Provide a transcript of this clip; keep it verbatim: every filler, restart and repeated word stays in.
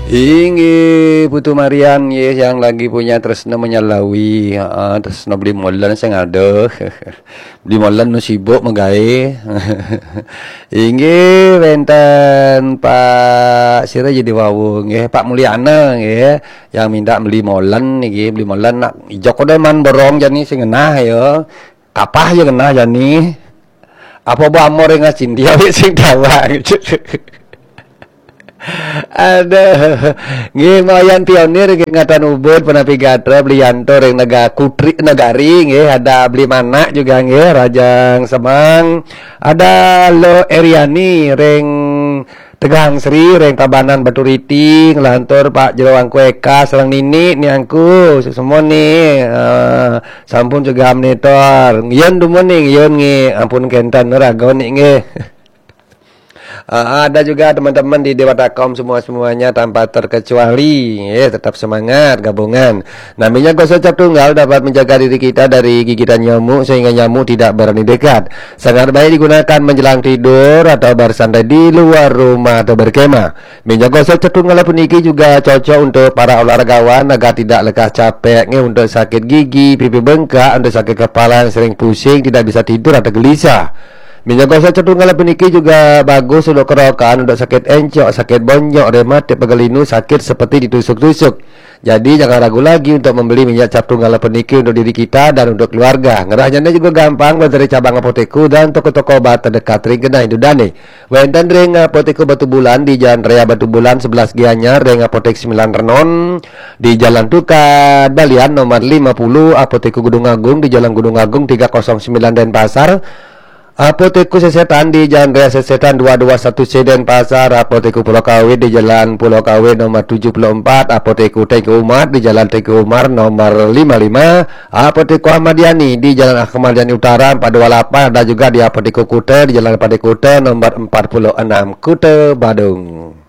Inggih, Putu Marian, nggih, yang lagi punya tresno menyalawi. Heeh, tresno beli molen sing adoh. Beli molen nu sibuk megawe. Inggih, wenten Pak sira jadi wau, nggih, Pak Mulyana, nggih, yang minta beli molen niki, beli molen nak ijo kode man borong jani sing genah ya. Kapah ya genah jani. Apa bu amor yang ngacinti awik sing dawa. Aduh. Nggih, Mayan Pionir nggih, Ngatan Ubud, Penapi Gatra, Beli Yanto ring Nega Kutri Negari nggih, ada Beli Manak juga nggih, Rajang Semang, ada Lo Eriani ring Tegang Sri, ring Tabanan Batu Riti, nglantur Pak Jero Angku Eka, sareng Nini, Niangku, semua nih, eh, sampun juga monitor. Yun dumun nih, yun nggih, ampun kenten raga nih nggih. Ah, ada juga teman-teman di Dewata Kaum semua-semuanya tanpa terkecuali. Ya, tetap semangat gabungan. Nah, minyak gosok cap tunggal dapat menjaga diri kita dari gigitan nyamuk sehingga nyamuk tidak berani dekat. Sangat baik digunakan menjelang tidur atau bersantai di luar rumah atau berkemah. Minyak gosok cap tunggal puniki juga cocok untuk para olahragawan agar tidak lekas capek nggih, untuk sakit gigi, pipi bengkak, untuk sakit kepala yang sering pusing, tidak bisa tidur atau gelisah. Minyak gosok cap tunggal puniki juga bagus untuk kerokan, untuk sakit encok, sakit bonyok, rematik, pegal linu, sakit seperti ditusuk-tusuk. Jadi jangan ragu lagi untuk membeli minyak cap tunggal puniki untuk diri kita dan untuk keluarga. Ngerahnya juga gampang, dari cabang apotek dan toko-toko obat terdekat ring genah indudane. Wenten ring Apotek Batubulan di Jalan Raya Batubulan sebelas Gianyar, ring Apotek Sembilan Renon di Jalan Tukad Balian nomor lima puluh, Apotek Gunung Agung di Jalan Gunung Agung tiga kosong sembilan Denpasar, Apotek Sesetan di Jalan Raya Sesetan dua dua satu C Denpasar, Apotek Pulau Kawe di Jalan Pulau Kawe nomor tujuh puluh empat, Apotek Teuku Umar di Jalan Teuku Umar nomor lima lima, Apotek Ahmad Yani di Jalan Ahmad Yani Utara empat dua lapan, ada juga di Apotek Kuta di Jalan Pade Kuta nomor empat puluh enam, Kuta Badung.